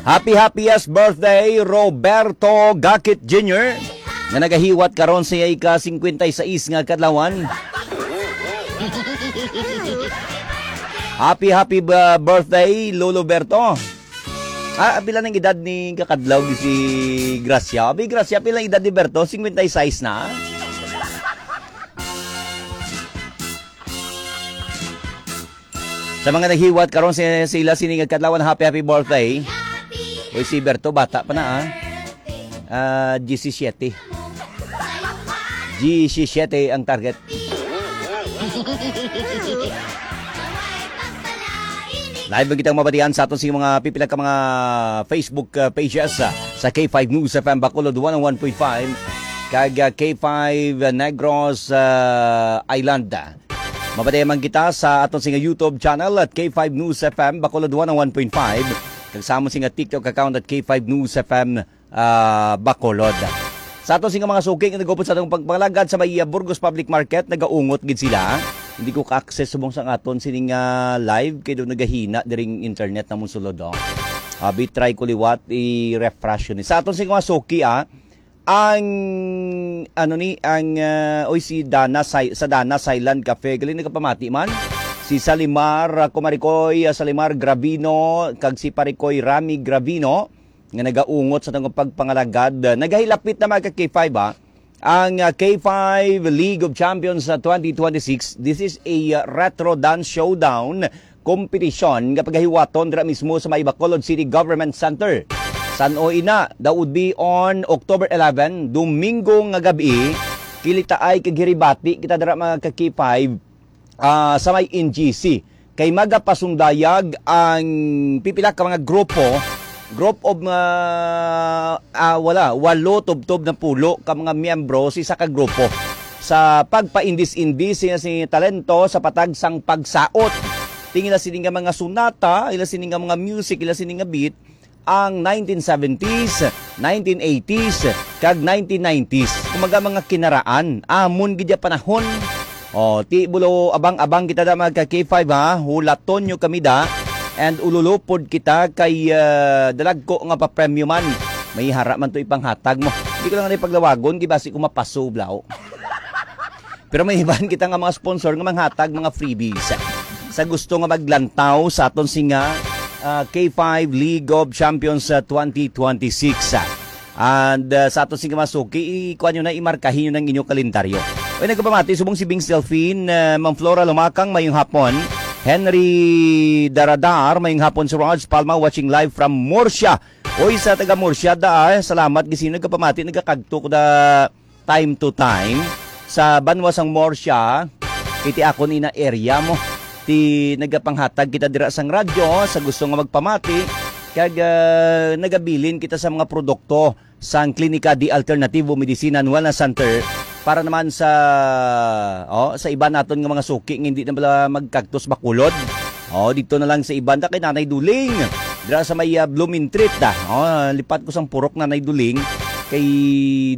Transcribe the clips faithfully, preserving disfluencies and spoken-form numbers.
Happy, happiest birthday, Roberto Gakit Junior, nga nagahiwat karon sa ika singkwenta y sais nga kadlawan. Happy, happy ba-, birthday, Lolo Berto. Ah, pila nang edad ni kakadlaw si Gracia? Abi, Gracia, pila ang edad ni Berto? Singkwenta y sais na? Sa mga naghiwat karon sa, sa ila sini nga kadlawan, happy, happy birthday. Uy, si Berto, bata pa na, ah. Ah, diyesisiyete. Diyesisiyete ang target. Live ang kitang mabatian sa aton sa mga pipila ka mga Facebook, uh, pages, uh, sa K five News F M Bacolod one oh one point five kag, uh, K five Negros, uh, Island. Mabatian man kita sa aton sa YouTube channel at K five News F M Bacolod one oh one point five kag sa amon sa TikTok account at K five News F M ah, Bacolod. Sa ato sing mga suki nga nagupod sa atong pagpangalagad sa may, ah, Burgos Public Market, nagaungot gid sila. Hindi ko ka-access subong sa aton sining, ah, live kay do nagahina diring internet namon sulod, oh. Abi, try ko liwat i-refresh yun. Sa aton sing mga suki, ah, ang ano ni ang, ah, oy, si Dana Sai-, sa Dana Silent Cafe, galing nagapamati man si Salimar, ah, Kumarikoy, ah, Salimar Gravino, kag si Parikoy Rami Gravino. Nga nagaungot sa atong pagpangalagad. Nagahilapit na, mga ka-K five, ha, ang, ah, K five League of Champions sa twenty twenty-six. This is a, ah, retro dance showdown competition nga pagahiwaton dira mismo sa may Bacolod City Government Center. San-o ina, that would be on October eleven, Domingo nga gabi. Kilitaay kag hiribati kita dira, mga ka-K five, ah, sa may N G C. Kay magapasundayag ang pipila ka mga grupo, group of mga, ah, wala, walo tubtob na pulo ka mga miyembro sa isa ka grupo sa pagpaindis-indis sina si talento sa patag sang pagsaot. Tingin na sini nga mga sunata, ila sini nga mga music, ila sini nga beat, ang nineteen seventies, nineteen eighties, kag nineteen nineties. Kumaga mga kinaraan, amon gid ya panahon. O, ti bulo, abang-abang kita da, mga ka-K five, ha. Hulaton nyo kami da. And ululupod kita kay, ah, dalagko nga papremyo man. May hara man to ipanghatag mo. Hindi ko lang na ipaglawagon, gibasi ko mapaso, blaw. Pero may iban kita nga mga sponsor nga manghatag mga freebies. Sa gusto nga maglantaw sa aton singa, ah, K five League of Champions, ah, twenty twenty-six, ah. And, ah, sa aton singa mga suki, ikuha nyo na, imarkahin nyo ng inyong kalendaryo. Oy, nagpamati, subong si Bing Delfin, ah, Ma'am Flora Lumakang, mayong hapon. Henry Daradar, mayong hapon, si Raj Palma, watching live from Murcia. Oy, sa taga Murcia da, ah, salamat, gisino nagpamati, nagakagto ko da time to time sa banwa sang Murcia, iti akon ina area mo. Ti nagapanghatag kita dira sang radyo sa gusto nga magpamati, kag, ah, nagabilin kita sa mga produkto sang Klinika di Alternativo Medicina and Wellness Center para naman sa, oh, sa iba naton nga mga suki nga hindi na bala magkagtos Bacolod. Oh, dito na lang sa iban ta kay Nanay Duling. Dira sa may, ah, Blumentritt, ah. Oh, lipat ko sang purok, Nanay Duling. Kay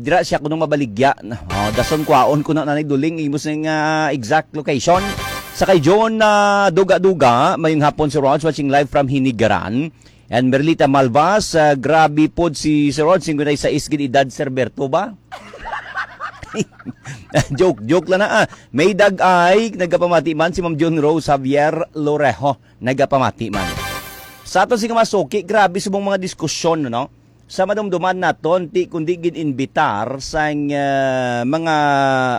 dira siya kuno mabaligya. Oh, dason kwaon ko na, Nanay Duling, imo sing, ah, exact location. Sa kay John, ah, Duga-Duga, mayong hapon, Sir Raj, watching live from Hinigaran. And Merlita Malvas, ah, grabe pod si Sir Raj, singkwenta y sais gid edad, Sir Berto ba? Joke, joke lang na, ah. May dag-ay, nagapamati man si Ma'am June Rose Javier Lorejo, nagapamati man. Sa aton sing mga suki, grabe subong mga diskusyon, no? Sa madumduman naton, ti kundi gid inbitar sang, ah, mga,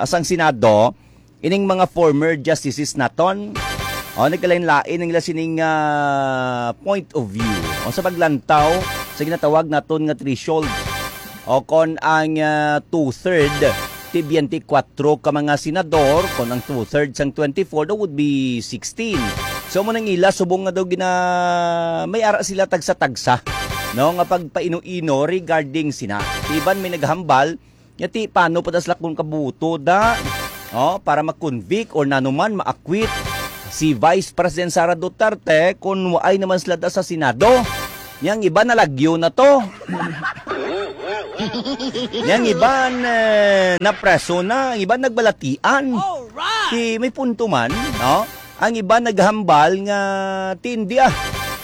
sang Senado, ining mga former justices naton, o, nagkalain-lain ang ila sining, ah, point of view. O, sa paglantaw sa ginatawag naton nga threshold, o kon ang, ah, two-third ti twenty-four ka mga senador, kon ang two-third sang twenty-four, that would be sixteen. So, mo nang ila, subong nga daw gina-, may ara sila tagsa-tagsa, no, nga pagpaino-ino regarding sina. Iban may naghambal, nga ti paano pa das lakon kabuto da, oh, para ma-convict or nanuman ma-acquit si Vice President Sara Duterte kung waay naman sila da sa Senado. Yang iba nalagyo na to. Yang iban, eh, napreso na, ang iban nagbalatian. Alright! Ti may punto man, no? Ang iban naghambal nga tindi, ah.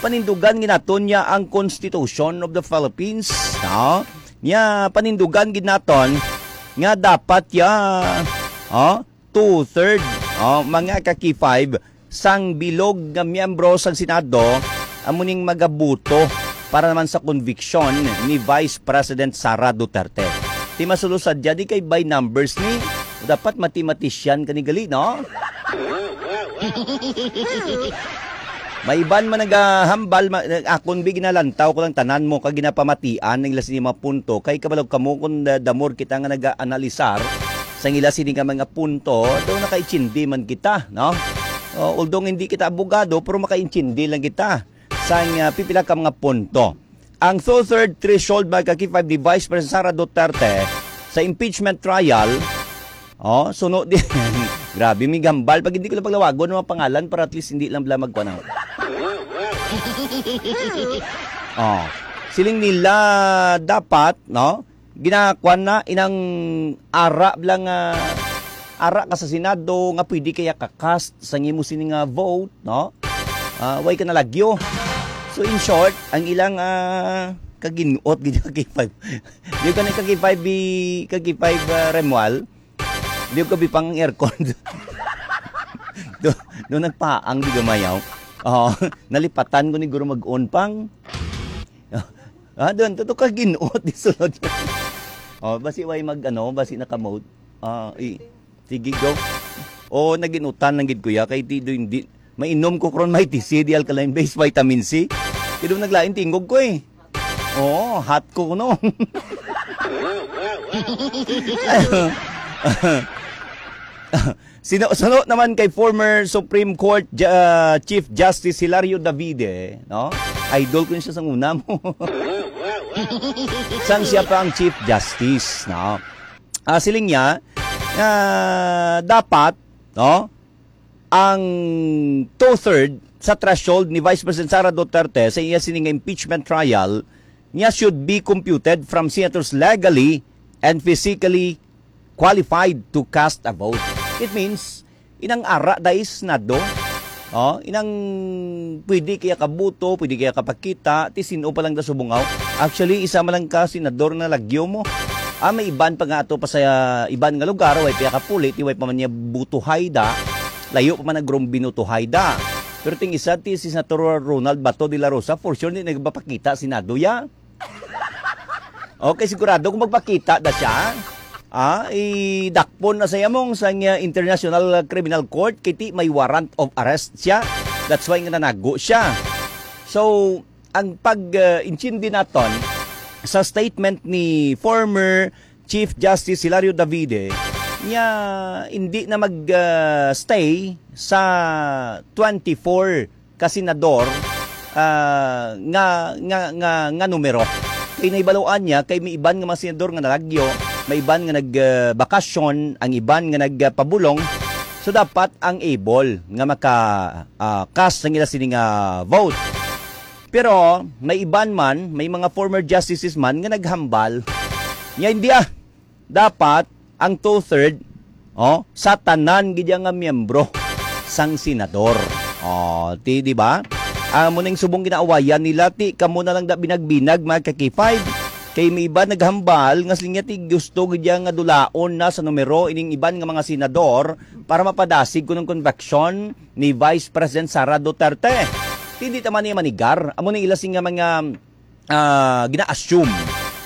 panindugan gid naton niya ang Constitution of the Philippines, no? Niya panindugan gid naton nga dapat ya, oh, two-third, oh, mga ka-K five, sang bilog nga miyembro sang Senado amo ning magabuto para naman sa conviction ni Vice President Sara Duterte. Ti masulo sadya di kay by numbers ni, dapat mathematician ka ni gali, no? May iban man nagahambal, ma-, akon bi ginalantaw ko lang tanan mo kag ginapamatian ang ila sini mga punto. Kay kabalo kamo kung da-, the more kita nga nag-aanalisar sa ila sini nga mga punto, daw nakaintindi man kita, no? O, although hindi kita abogado, pero makaintindi lang kita sa, ah, pipila ka mga punto. Ang two-third threshold, mga ka-K five, ni Vice President Sara Duterte sa impeachment trial, oh, suno di, grabe, may gambal. Pag hindi ko lang paglawagon ang mga pangalan para at least hindi lang bala magkuha ng, oh, siling nila dapat, no? Ginakuan na inang ara lang, ah, ara ka sa Senado nga pwede kaya ka-cast sa imo sini nga vote, no? Ah, way ka nalagyo. So, in short, ang ilang, ah, kaginuot gid ka K five. Di ka na ka K five bi-, ka K five, ah, Remual. Di ka bi pang aircon. Do, do nagpaang di gamayaw. Oh, nalipatan ko ni guro mag-on pang. Ah, doon, tuto ka ginuot di sulod. Oh, basi way mag, ano, basi naka-mode. Ah, i-, sige, go. Oh, naginutan lang gid, kuya, kay di, di, di, mainom ko karon may T C, di alkaline base, vitamin C. Pero naglain tingog ko eh. Oo, hot ko kuno. Sino, suno naman kay former Supreme Court Ju-, ah, Chief Justice Hilario Davide, no? Idol ko siya sang una mo. Sang siya pa ang Chief Justice, no? Ah, siling niya, ah, dapat, no, ang two-third sa threshold ni Vice President Sara Duterte sa iya sini nga impeachment trial niya should be computed from senators legally and physically qualified to cast a vote. It means, inang ara dai Senado, oh, inang pwede kaya kabuto, pwede kaya kapakita, ti sino pa lang da subungaw. Actually, isa man lang ka senador na lagyo mo. Ah, may iban pa nga ato pa sa iban nga lugar, way pa kapuli, ti way pa man niya butuhay da, layo pa man ang grong binutuhay da. Pero ting isa, ti si Senator Ronald Bato de la Rosa, for sure, di nagpapakita Senado ya. Okay, sigurado kung magpakita na siya, ah, idakpon na sa yamong sa nga International Criminal Court, kay ti may warrant of arrest siya. That's why nga nanago siya. So, ang pag, uh, intindi naton sa statement ni former Chief Justice Hilario Davide, niya hindi na mag, uh, stay sa twenty-four ka senador, ah, nga, nga, nga, nga numero. Kay nahibaluan niya, kay may iban nga mga senador nga nalagyo, may iban nga nag, ah, bakasyon, ang iban nga nagpabulong. So, dapat ang able nga maka, ah, cast sang ila sini nga vote. Pero may iban man, may mga former justices man nga naghambal. Niya, hindi ah. Dapat ang two-third, oh, sa tanan gid nga miyembro sang senador. Oh, ti, di ba? Amo ning subong ginaawayan nila, ti kamo na lang da binag-binag, mga ka-K five. Kay may iba naghambal nga sila ti gusto gid nga dulaon na sa numero ining iban nga mga senador para mapadasig kuno ang conviction ni Vice President Sara Duterte. Ti di ta man niya manigar. Amo ni ila sing nga mga, ah, gina-assume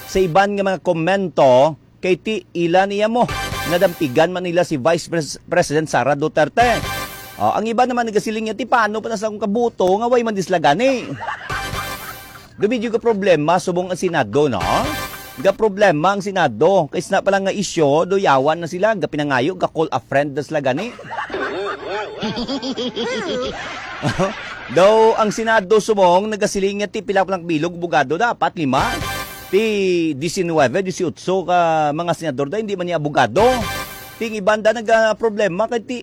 sa iban nga mga komento kay ti ila niya mo nadampigan man nila si Vice Pres-, President Sara Duterte. Oh, ang iba naman nagasiling niya, "Ti paano pa na sa akong kabuto nga way man di sila gani?" Do medyo ka problema subong ang Senado, no? Ga problema ang Senado. Kay isna pa lang nga isyu, do yawan na sila, ga pinangayo, ga call a friend na sila gani. Daw ang Senado subong nagasiling nga ti pila pa lang bilog abogado, dapat lima. Ti diecinuebe, dieciocho ka mga senador da, hindi man niya abogado. Ting iban da nagaproblema kay ti,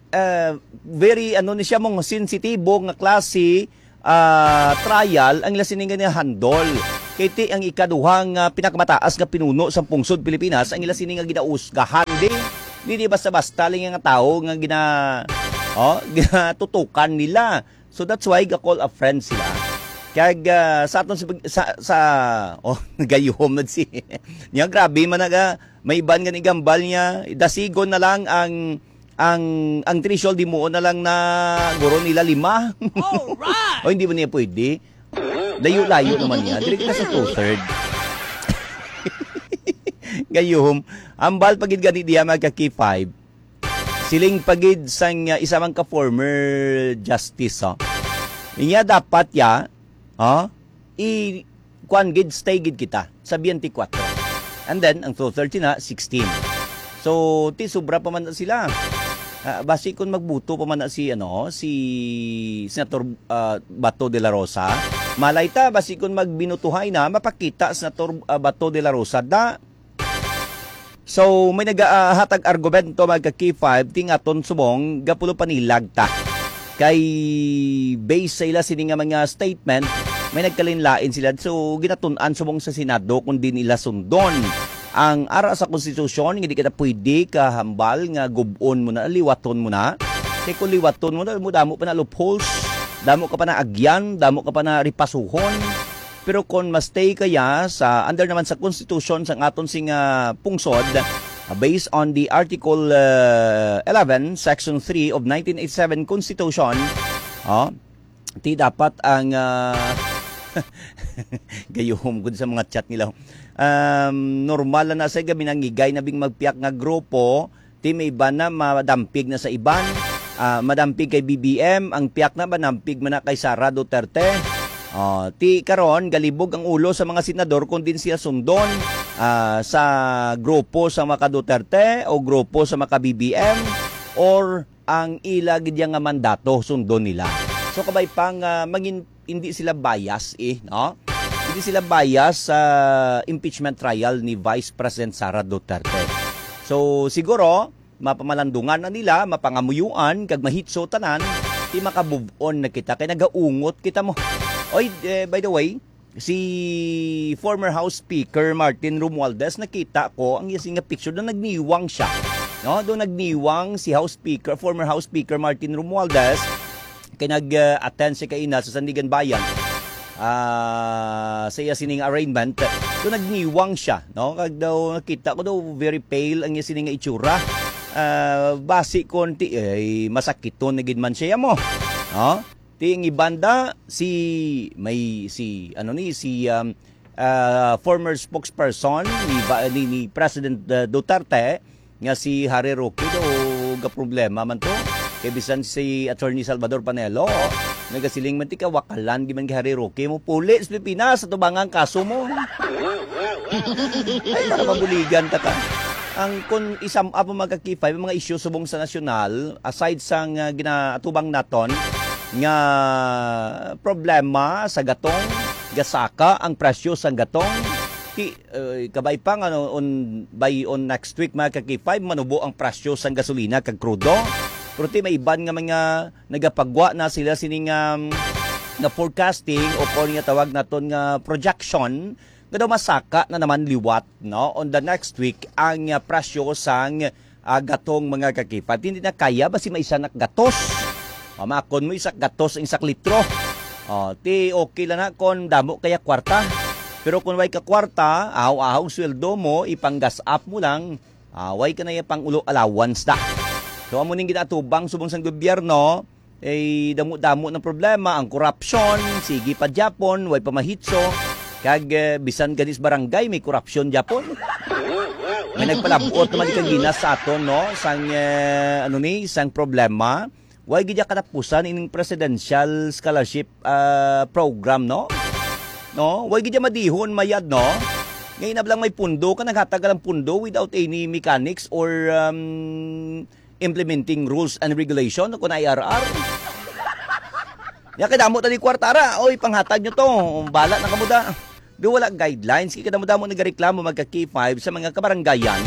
eh, very, ano ni siya, mong sensitibo nga klase, ah, trial ang ila sini nga handle. Kay ti ang ikaduha nga pinakamataas nga pinuno sa pungsod Pilipinas ang ila sini nga ginausgahan. Di, di, di basta-basta lang nga tao nga gina-, oh, ginatutukan nila. So that's why ga-call a friend sila. Kag, ah, sa aton sa, sa, sa oh, nagayuhom na si niya, grabe man naga, may iban nga nigambal niya, dasigon na lang ang, ang, ang threshold, di mo na lang na guro nila lima. Alright! O, hindi man niya pwede. Layo-layo naman niya. Dili kita sa two-third. Gayuhom, ambal pa gid gani diya, mga ka-K five. Siling pa gid sang, uh, isa man ka former justice, oh. Inya dapat ya, oh, i kuan gid, stay gid kita sa twenty-four. And then ang two thirty na, sixteen. So, ti sobra pa man na sila. Ah, basi kung magbuto pa man na si, ano, si Senator, ah, Bato de la Rosa, malay ta, basi kung magbinutuhay na, mapakita Senator, ah, Bato de la Rosa, da. So, may nagahatag argumento, mga ka-K five, ti nga aton subong, gapulo panilag ta. Kay base sa ila sini nga mga statement, may nagkalinlain sila. So, ginatun-an subong sa Senado kung di nila sundon ang ara sa konstitusyon, nga di kita pwede kahambal nga gub-on mo na, liwaton mo na. Kay kung liwaton mo na, mo damo pa na loopholes, damo ka pa na agyan, damo ka pa na ripasuhon. Pero kon ma-stay kaya sa under naman sa konstitusyon sang aton sing, ah, pungsod, ah, based on the Article, ah, eleven, Section three of nineteen eighty-seven Constitution, oh, ti dapat ang, ah, gayuhom gud sa mga chat nila. Um, normal na sa gabi nangigay na bing magpiyak nga grupo, ti may iban na madampig na sa iban, ah, madampig kay B B M, ang piyak na madampig man na kay Sara Duterte. Oh, ti karon galibog ang ulo sa mga senador kung din siya sundon, ah, sa grupo sa mga Duterte o grupo sa mga B B M or ang ila gid nga mandato sundon nila. So kabay pa nga mangin hindi sila bias, eh, no? Hindi sila bias sa impeachment trial ni Vice President Sara Duterte. So, siguro, mapamalandungan na nila, mapangamuyuan, kag mahitso tanan, ti maka-move on na kita, kay nagaungot kita mo. Oy, eh, by the way, si former House Speaker Martin Romualdez, nakita ko ang iya sing nga picture do nagniwang siya. No, do nagniwang si House Speaker, former House Speaker Martin Romualdez, kay nag-attend siya kaina sa Sandiganbayan, ah, sa iya sining arraignment. So, nagniwang siya, no? Kag daw nakita ko daw very pale ang iya sining nga itsura. Ah, basi kon ti, ay, masakiton na gid man siya mo, no? Ti ang ibanda, si, may, si, ano ni, si, um, ah, former spokesperson ni ba-, ni, ni President, ah, Duterte, nga si Harry Roque daw gaproblema man to. Kay bisan si Attorney Salvador Panelo, nagasiling man ti kawakalan gid man kay Harry Roque mo puli sa Pilipinas sa tubangang kaso mo. Ay, para mabuligan ta ka. Ang kun isam up ang mga K five, ang mga isyu subong sa nasyonal, aside sa nga ginaatubang naton nga problema sa gatong, gasaka ang presyo sa gatong, ti, eh, kabay pa nga no, on, by on next week, mga ka-K five, manubo ang presyo sang gasolina kag krudo. Pero ti may iban nga mga nagapagwa na sila sining, um, nga forecasting o kon nga tawag naton nga projection nga daw masaka na naman liwat, no, on the next week ang, uh, presyo sang, uh, gatong, mga ka-K five. Hindi na kaya ba si may isa na gatos? O, makon mo isa gatos ang isak litro. O, ti okay lang na kon damo kaya kwarta. Pero kung way ka kwarta, ahaw-ahaw sweldo mo, ipang-gas up mo lang, ah, way ka na iya pang ulo allowance da. So, amo ning ginatubang subong sang gobyerno, eh, damo-damo ng problema, ang korupsyon, sige pa gyapon, way pa mahitso, kag, eh, bisan ganis barangay may korupsyon gyapon. May nagpalabot naman di kagina sa aton, no, sang, eh, ano ni, sang problema. Way gid ya katapusan ining presidential scholarship, ah, program, no? No? Way gid ya madihon mayad, no? Ngayon na lang may pundo ka, naghatag ka lang pundo without any mechanics or, um, implementing rules and regulation, kun I R R. Ya kay damo tali kwarta ra. Oy, panghatag nyo to. Bala na kamo da. Do wala guidelines, kay kadamo-damo nagareklamo, mga ka-K five, sa mga kabarangayan,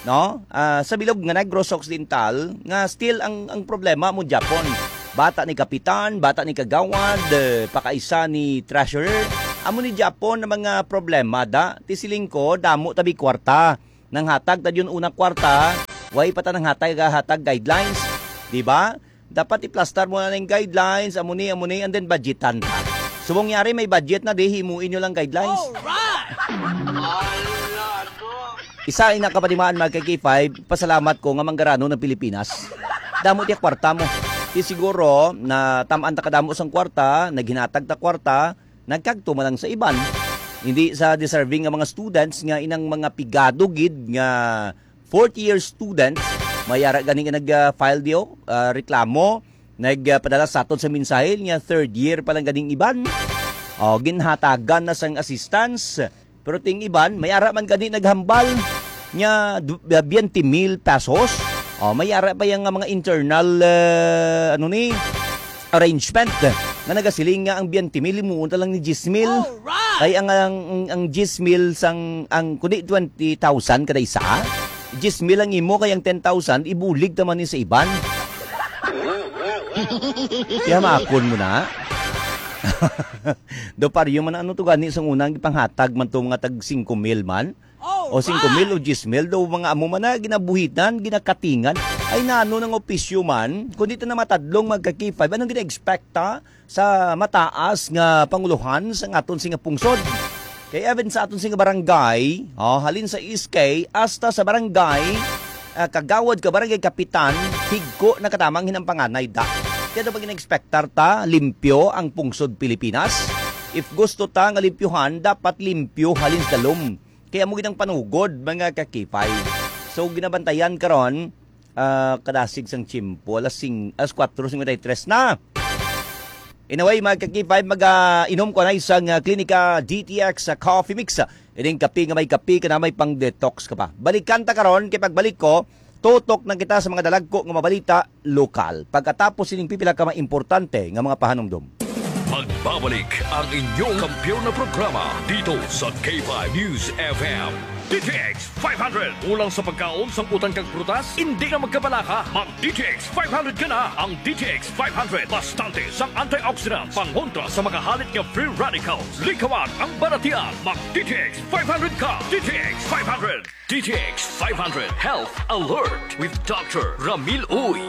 no? Ah, sa bilog nga Negros Occidental, nga still ang, ang problema mo Japon. Bata ni kapitan, bata ni kagawad, eh, pakaisa ni treasurer. Amo ni Japon ang mga problema da. Ti siling ko, damo tabi kwarta. Nanghatag ta yun unang kwarta, way pa ta nanghatag, hatag guidelines, di ba? Dapat iplastar mo na ng guidelines, amo ni, amo ni, and then budgetan ta. Subong yari may budget na, di, himuin nyo lang guidelines. Alright! Isa ina kapatimaan, mga ka-K five, pasalamat ko nga manggarano ng Pilipinas. Damo tiya kwarta mo. Di siguro na tamaan ta kadamo sang kwarta, naghinatag ta kwarta, nagkagto man lang sa iban. Hindi sa deserving nga mga students nga inang mga pigado gid nga fourth year students, may ara gani nga nag-file diyo, ah, reklamo, nagpadala sa aton sa mensahe nga third year pa lang ganing iban. O, ginhatagan na sang assistance. Pero ting iban, may ara man gani naghambal nga du-, ah, twenty mil pesos. O, may ara pa yang mga internal, ah, ano ni, arrangement nga nagasiling nga ang twenty mil himuon ta lang ni diyes mil. Alright! Kay ang, ang, ang diyes mil sang, ang, kundi twenty thousand kada isa, diyes mil ang imo, kay ang ten thousand, ibulig ta man ni sa iban. Kaya maakon mo na. Do paryo man, ano to gani sang unang ipanghatag man to, mga tag singko mil man? O singko mil o diyes mil, do mga amo man na ginabuhitan, ginakatingan. Ay, nano nang opisyo man, kundi ta na matadlong, mga ka-K five, anong gina-expect ta sa mataas nga pangulohan sa aton singa pungsod? Kay even sa aton singa barangay, o, halin sa S K hasta sa barangay, ah, kagawad ka barangay kapitan, higko na katamang hinampanganay da. Kaya daw pag in-expectar ta, limpyo ang pungsod Pilipinas. If gusto ta nga limpyuhan, dapat limpyo halin sa dalom. Kaya mo gid ang panugod, mga ka-K five. So, ginabantayan karon, ah, kadasig sang tiyempo, alas sing-, alas kwatro singkwenta y tres na. Anyway, mga ka-K five, mag, ah, inom ko na isang, ah, Klinika D T X, ah, Coffee Mix. Ining kape nga may kape, ka na may pang-detox ka pa. Balikan ta karon, kay pagbalik ko, tutok na kita sa mga dalagko nga mabalita lokal. Pagkatapos sining pipila ka mga importante nga mga pahanumdom. Magbabalik ang inyong kampiyon na programa dito sa K five News F M. D T X five hundred. Kulang sa pagkaon, sang utan kag prutas? Hindi ka magkabalaka. Mag D T X five hundred ka na. Ang D T X five hundred, bastante sang antioxidants, pangontra sa mga halit nga free radicals. Likawan ang balatian. Mag D T X five hundred ka. D T X five hundred. D T X five hundred Health Alert with Doctor Ramil Uy.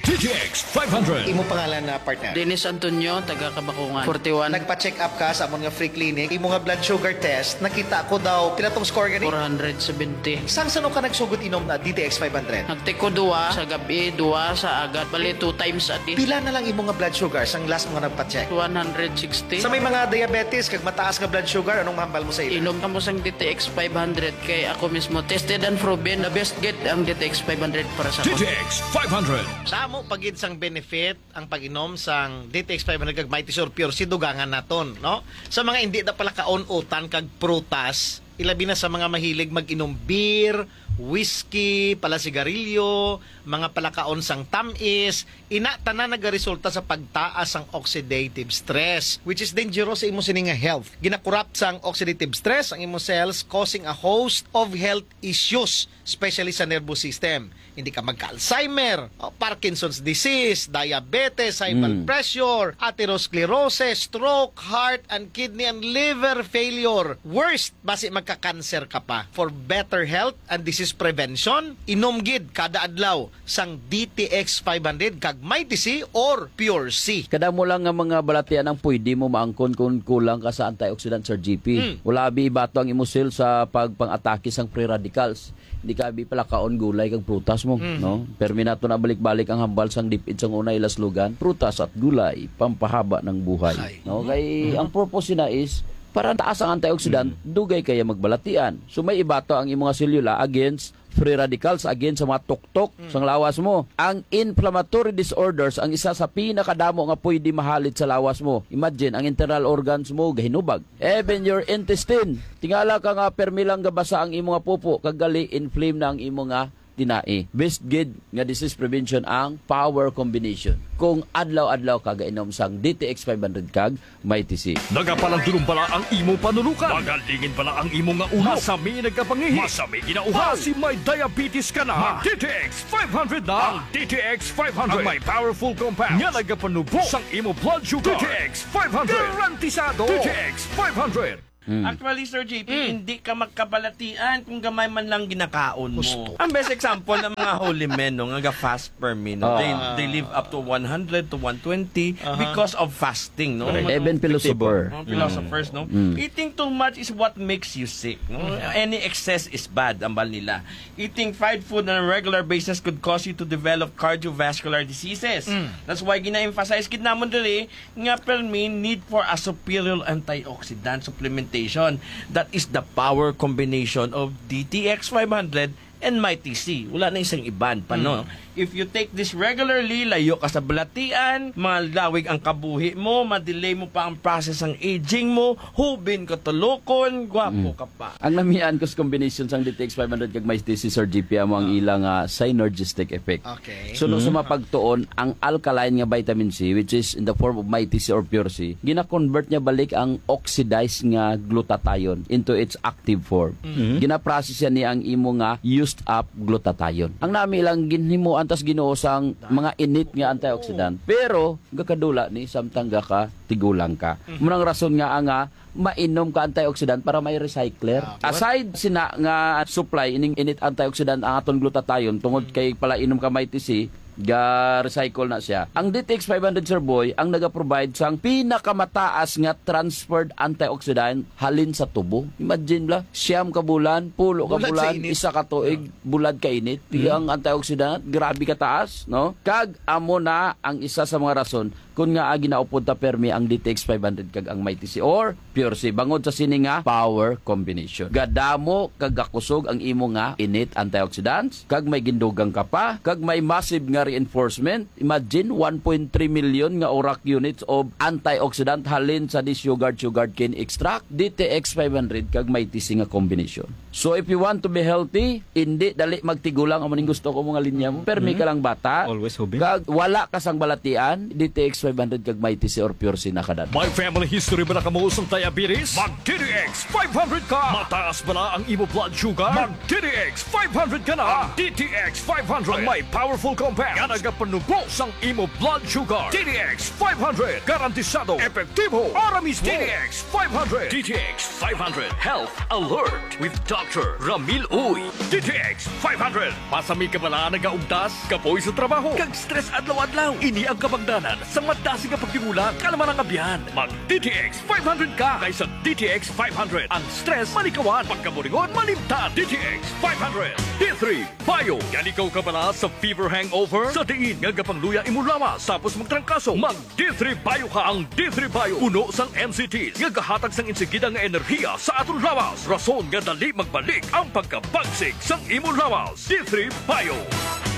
D T X five hundred. Imo pangalan na partner? Dennis Antonio, taga Kabakungan, forty-one. Nagpa-check up ka sa amon nga free clinic. Imo nga blood sugar test, nakita ko daw, pila tong score gani? Four hundred seventy. Sang sano ka nagsugod inom na D T X five hundred? Nagtiko duwa sa gabi, duwa sa agad. Bali, two times a day. Pila na lang imo nga blood sugar sang last mo nga nagpa-check? One hundred sixty. Sa may mga diabetes kag mataas nga blood sugar, anong mahambal mo sa ila? Inom kamo sang D T X five hundred kay ako mismo tested and proven, the best gid ang D T X five hundred para sa D T X five hundred. Damo pa gid sang benefit ang pag-inom sang D T X five hundred kag Mighty Sur Pure C, dugangan naton, no? Sa mga hindi na palakaon utan kag prutas, ilabi na sa mga mahilig mag-inom beer, whiskey, pala sigarilyo, mga palakaon sang tamis, ina tanan nagaresulta sa pagtaas sang oxidative stress, which is dangerous sa imo sini nga health. Ginakorrupt sang oxidative stress ang imo cells, causing a host of health issues, especially sa nervous system. Hindi ka magka-Alzheimer, o, Parkinson's disease, diabetes, high blood Mm. pressure, atherosclerosis, stroke, heart and kidney and liver failure. Worst, basi magka-cancer ka pa. For better health and disease prevention, inom gid kada adlaw sang D T X five hundred kag Mighty C or Pure C. Kadamo lang nga mga balatian ang pwede mo maangkon kung kulang ka sa antioxidant, Sir G P. Mm. Wala abi ibato ang imo cell sa pagpang-atake sang free radicals. Hindi ka abi palakaon gulay kag prutas mo, Mhm. no? Permi nato na balik-balik ang hambal sang DepEd sang una ila slogan, "Prutas at gulay, pampahaba ng buhay." Hay. No, kay Mhm. ang purpose na is para taas ang antioxidant, Mhm. dugay kaya magbalatian. So may ibato ang imong selula against free radicals, against sa mga tuktok Mhm. sang lawas mo. Ang inflammatory disorders ang isa sa pinakadamo nga pwede mahalit sa lawas mo. Imagine, ang internal organs mo gahinubag. Even your intestine. Tingala ka nga permi lang gabasa ang imo nga pupo, kag gali inflame na ang imo nga tinai. Best gid nga disease prevention ang power combination. Kung adlaw-adlaw ka gainom sang D T X five hundred kag Mighty C. Nagapalandulong bala ang imo panulukan? Magalingin bala ang imo nga ulo? Masami nagkapangihi? Masami ginauhaw? Basi may diabetes ka na? Mag D T X five hundred na. Ang D T X five hundred ang may powerful compound nga nagapanubo sang imo blood sugar. D T X five hundred. Garantisado. D T X five hundred. Mm. Actually, Sir J P, Mm. hindi ka magkabalatian kung gamay man lang ginakaon mo. Husto. Ang best example ng mga holy men, no, nga ga-fast per me, no? Ah. They, they live up to one hundred to one twenty Aha. because of fasting, no? Correct. Mga Even philosopher. Mga philosophers, no? Mm. Eating too much is what makes you sick, no? Mm. Any excess is bad, ambal nila. Eating fried food on a regular basis could cause you to develop cardiovascular diseases. Mm. That's why gina-emphasize gid namon diri nga permi need for a superior antioxidant supplementation. That is the power combination of D T X five hundred and Mighty C. Wala na isang iban pa, no? Mm. If you take this regularly, layo ka sa balatian, malawig ang kabuhi mo, madelay mo pa ang process ang aging mo, hubin ka tulokon, gwapo Mm. ka pa. Ang namian ko sa combination sang D T X five hundred kag Mighty C, Sir G P, amo ang Ah. ila nga synergistic effect. Okay. So, no, sa Mm. mapagtuon, ang alkaline nga vitamin C, which is in the form of Mighty C or Pure C, gina-convert niya balik ang oxidized nga glutathione into its active form. Mm. Gina-process yan niya ang imo nga used up glutathione. Ang nami lang ginhimuan tas Ginoo sang mga init nga antioxidant. Pero, gakadula ni samtang gaka tigulang ka. Mm. Muna ang rason nga nga mainom ka antioxidant para may recycler. Ah, what? Aside sina nga supply ining init antioxidant ang aton glutathione tungod Mm. kay palainom ka Mighty C, ga-recycle na siya. Ang D T X five hundred, Sir Boy, ang naga-provide sang pinakamataas nga transferred antioxidant halin sa tubo. Imagine bala, siyam ka bulan, pulo ka Bulad sa bulan, init. isa ka tuig, Ah. bulad ka init. Mm. Ang antioxidant, grabe ka taas, no? Kag amo na ang isa sa mga rason kun nga ginaupod ta permi ang D T X five hundred kag ang Mighty C or Pure C bangod sa sini nga power combination. Gadamo kag gakusog ang imo nga init antioxidants, kag may gindugang ka pa, kag may massive nga reinforcement. Imagine, one point three million nga orak units of antioxidant halin sa this yogurt, sugarcane extract. D T X five hundred kag Mighty C nga combination. So, if you want to be healthy, hindi dali magtigulang amo ning gusto ko mga linya mo. Permi Mm. ka lang bata. Always hubin. Kag wala ka sang balatian, D T X five hundred kag Mighty C or Pure C na kadad. May family history ba na kamo sang diabetes? Mag D T X five hundred ka. Mataas ba na ang imo blood sugar? Mag D T X five hundred ka na. Ang D T X five hundred ang may powerful compound nga nagapanubo sang imo blood sugar. D T X five hundred, garantisado, epektibo, ara mismo. D T X five hundred. D T X five hundred Health Alert with Doctor Ramil Uy. D T X five hundred. Masami ka bala nagaugtas, kapoy sa trabaho, kag stress adlaw-adlaw. Ini ang kabangdanan sa madasi nga pagtigulang, kalman ang abyan. Mag D T X five hundred ka, kay sa D T X five hundred ang stress malikawan, pagkaburingon malimtan. D T X five hundred. D three Bio. Yan ikaw ka bala sa fever hangover? Sa diin nga gapangluya imo lawas tapos magtrangkaso? Mag D three Bio ka. Ang D three Bio puno sang N C Ts nga gahatag sang insigida nga enerhiya sa aton lawas, rason nga dali magbalik ang pagkabagsik sang imo lawas. D three Bio.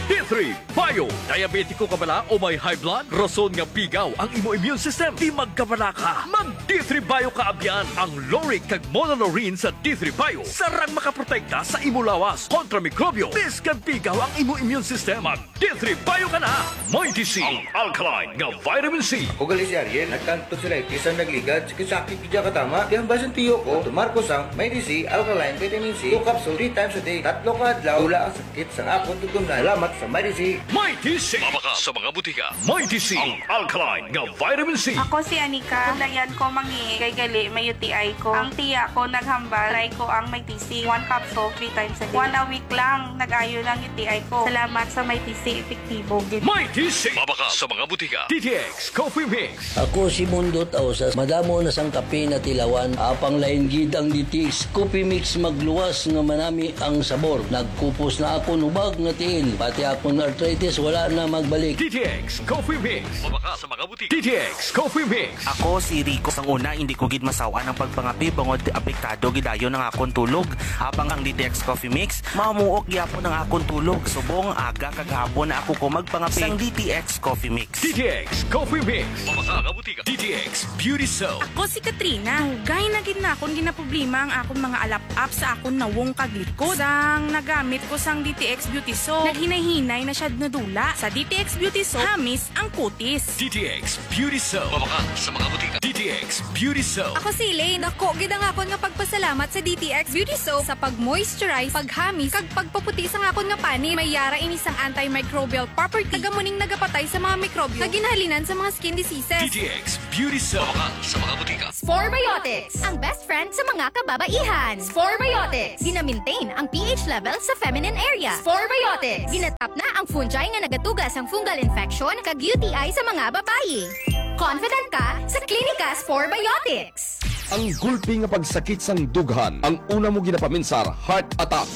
D three Bio. Diabetiko ka bala o may high blood? Rason nga pigaw ang imo immune system? Di magkabala ka. Mag D three Bio ka abyan. Ang lauric kag monolaurin sa D three Bio sarang makaprotekta sa imo lawas kontra mikrobyo, bisan pigaw ang imo immune system. Mag D three Bio ka na. Mighty C, ang alkaline nga vitamin C. Ako gali si Ariel, nagkantog sa lightis ang nagligad, sakit-sakit gid siya katama. Kaya ang basin tiyo ko, tumar ko sang Mighty C Alkaline Vitamin C, two capsule, three times a day. Tatlo ka adlaw, wala ang sakit sang akon tutumnan. Salamat sa Mighty C. Mighty C. Mabakal sa mga butika. Mighty C, ang alkaline nga vitamin C. Ako si Anika. Ako dayan ko mangi, kay gali may U T I ko. Ang tiya ko naghambal, try ko ang Mighty C. One capsule, three times a day. One a week lang, nag-ayo lang U T I ko. Salamat sa Mighty C, epektibo gid. Mighty C. Mabakal sa mga butika. D T X Coffee Mix. Ako si Mundo Tausas. Madamo na sang kape natilawan. Apang lain gid ang D T X Coffee Mix, magluwas nga manami ang sabor. Nagkupos na akon hubag nga tiil. Pati akon arthritis wala na magbalik. D T X Coffee Mix. Mabakal sa mga butika. D T X Coffee Mix. Ako si Rico. Sang una, hindi ko gid masaw-an ang pagpangape bangod apektado gid dayon ang akon tulog. Apang ang D T X Coffee Mix, mamuok gyapon ang akon tulog. Subong aga kag hapon na ako ko magpangape. Sang D T X Coffee Mix. D T X Coffee Mix. Mabakal sa mga butika. D T X Beauty Soap. Ako si Katrina. Dugay na gid na akon ginaproblema ang akon mga alap-ap sa akon nawong kag likod. Sang nagamit ko sang D T X Beauty Soap, naghinay-hinay Nay na siya nadula. Sa D T X Beauty Soap, hamis ang kutis. D T X Beauty Soap. Mabakal sa mga butika. D T X Beauty Soap. Ako si Elaine. Dako gid ang akon nga pagpasalamat sa D T X Beauty Soap sa pag-moisturize, paghamis, kag pagpaputi sang akon nga panit. May yara ini sang antimicrobial property. Taga muning nagapatay sa mga mikrobyo nga ginhalinan sa mga skin diseases. D T X Beauty Soap. Mabakal sa mga butika. Spore Biotics, ang best friend sa mga kababaihan. Spore Biotics, gina-maintain ang P H level sa feminine area. Spore Biotics, ginatap na ang fungi nga nagatuga sang fungal infection kag U T I sa mga babayi. Confident ka sa Clinica Spore Biotics. Ang gulpi nga pagsakit sang dughan, ang una mo ginapaminsar, heart attack.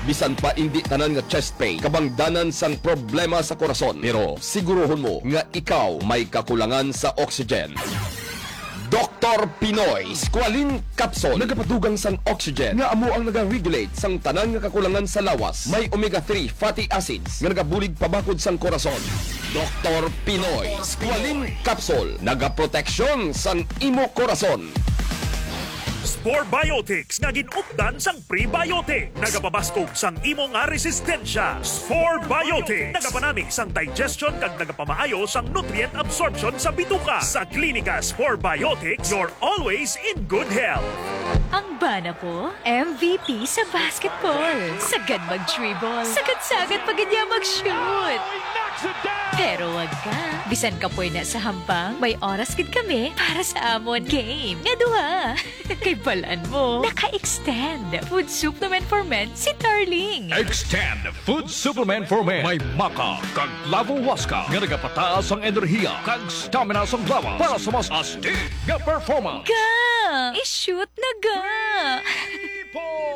Bisan pa indi tanan nga chest pain, kabangdanan sang problema sa korason. Pero siguruhon mo nga ikaw may kakulangan sa oxygen. Doktor Pinoy Squalene Capsule, nagapadugang sang oxygen nga amo ang nagaregulate sang tanan nga kakulangan sa lawas. May omega three fatty acids nga nagabulig pabakod sang korason. Doktor Pinoy Squalene Capsule, nagaproteksyon sang imo korason. Spore Biotics nga gin-updan sang prebiotic, nagapabaskog sang imo nga resistensya. Spore Biotics nagapanami sang digestion kag nagapamaayo sang nutrient absorption sa bituka. Sa Klinika Spore Biotics, you're always in good health. Ang bana ko, M V P sa basketball. Sagad mag-dribble. Sagad-sagad pa gid niya mag-shoot. Pero wag ka. Bisan kapoy na sa hampang, may oras gid kami para sa amon game nga duha. Kay balan mo, naka-extend Food Supplement for Men si Tarling. Extend Food Supplement for Men. May maca kag clavo huasca nga nagapataas ang enerhiya kag stamina sang lawas para sa mas astig nga performance. Ga! I-shoot na ga!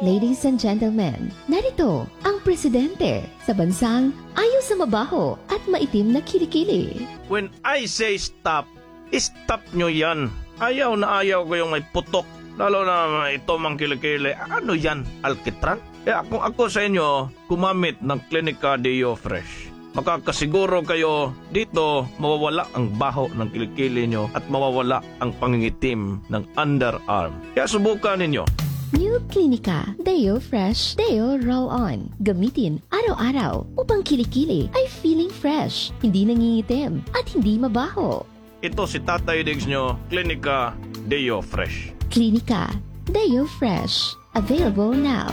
Ladies and gentlemen, narito ang presidente sa bansang ayaw sa mabaho at maitim na kilikili. When I say stop, stop nyo yan. Ayaw na ayaw ko yung may putok. Lalo na ito mang kilikili. Ano yan? Alkitran? Kaya kung ako sa inyo, gumamit ng Clinica Deo Fresh. Makakasiguro kayo dito mawawala ang baho ng kilikili nyo at mawawala ang pangingitim ng underarm. Kaya subukan ninyo. New Clinica Deo Fresh Deo Roll On. Gamitin araw-araw upang kilikili ay feeling fresh, hindi nangingitim, at hindi mabaho. Ito si Tatay Diggs nyo, Klinika Deo Fresh. Klinika Deo Fresh. Available now.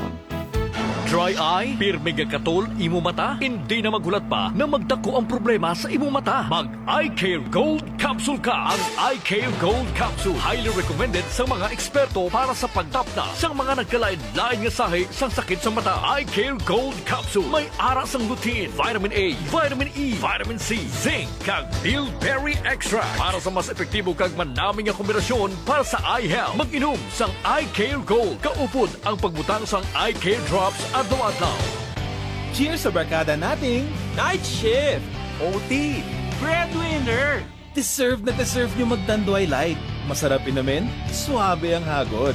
Dry eye? Pirmi nga katol imo mata? Hindi na maghulat pa na magdako ang problema sa imo mata. Mag Eye Care Gold Capsule ka. Ang Eye Care Gold Capsule highly recommended sa mga eksperto para sa pagtapna sa mga nagkalain-lain nga sahi sang sakit sa mata. Eye Care Gold Capsule may ara sang lutein, vitamin A, vitamin E, vitamin C, zinc, kag bilberry extract para sa mas epektibo kag manami nga kombinasyon para sa eye health. Mag-inom sang Eye Care Gold kaupod ang pagbutang sang Eye Care Drops adlaw-adlaw. Cheers sa barkada nating night shift, O T, breadwinner. Deserve na deserve nyo mag Tanduay Light. Masarap inumin, suabe ang hagod.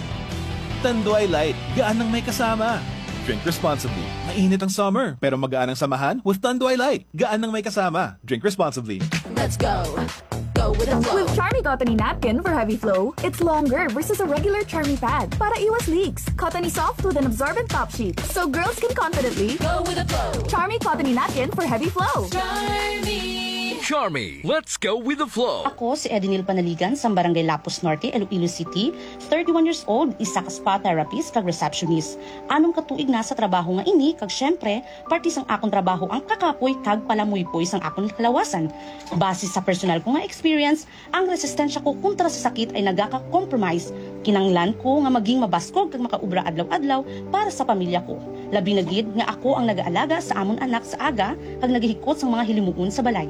Tanduay Light, gaan ang may kasama. Drink responsibly. Mainit ang summer, pero magaan ang samahan with Tanduay Light. Gaan ang may kasama. Drink responsibly. Let's go. Go with the flow. With Charmy Cottony Napkin for heavy flow, it's longer versus a regular Charmy pad para iwas leaks. Cottony soft with an absorbent top sheet, so girls can confidently go with the flow. Charmy Cottony Napkin for heavy flow. Charmy. Charmy, let's go with the flow. Ako si Edinil Panaligan sa Barangay Lapuz Norte, Iloilo City, thirty-one years old, isa ka spa therapist kag receptionist. Anom ka tuig na sa trabaho nga ini, kag syempre, parte sang akon trabaho ang kakapoy kag palamuypoy sang akon kalawasan. Base sa personal ko nga experience, ang resistensya ko kontra sa sakit ay nagaka-compromise. Kinahanglan ko nga maging mabaskog kag makaobra adlaw-adlaw para sa pamilya ko. Labi na gid nga ako ang nagaalaga sa amon anak sa aga kag nagahikot sang mga hilimuon sa balay.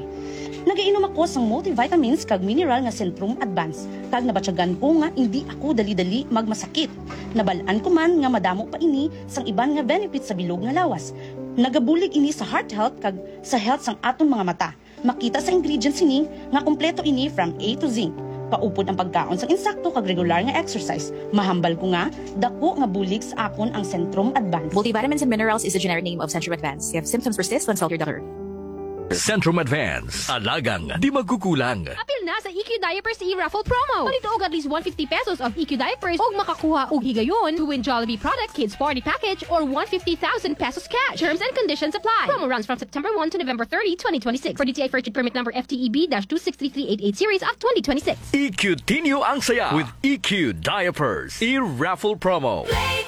Nagainom ako sang multivitamins kag mineral nga Centrum Advance, kag nabatyagan ko nga indi ako dali-dali magmasakit. Nabal-an ko man nga madamo pa ini sang iban nga benefits sa bilog nga lawas. Nagabulig ini sa heart health kag sa health sang aton mga mata. Makita sa ingredients sini nga kompleto ini from A to Z. Kaupod ang pagkaon sang insakto kag regular nga exercise. Mahambal ko nga dako nga bulig sa akon ang Centrum Advance. Multivitamins and minerals is the generic name of Centrum Advance. If symptoms persist, consult your doctor. Centrum Advance. Alagang di magkukulang. Apil na sa E Q Diapers e-raffle promo. Palito og at least one fifty pesos of E Q diapers og makakuha og higayon to win Jollibee product, kids party package, or one fifty thousand pesos cash. Terms and conditions apply. Promo runs from September one to November thirty, twenty twenty-six. For D T I Fair Trade Permit number F T E B dash two six three three eight eight series of twenty twenty-six. E Q Tinyo ang saya with E Q Diapers e-raffle promo.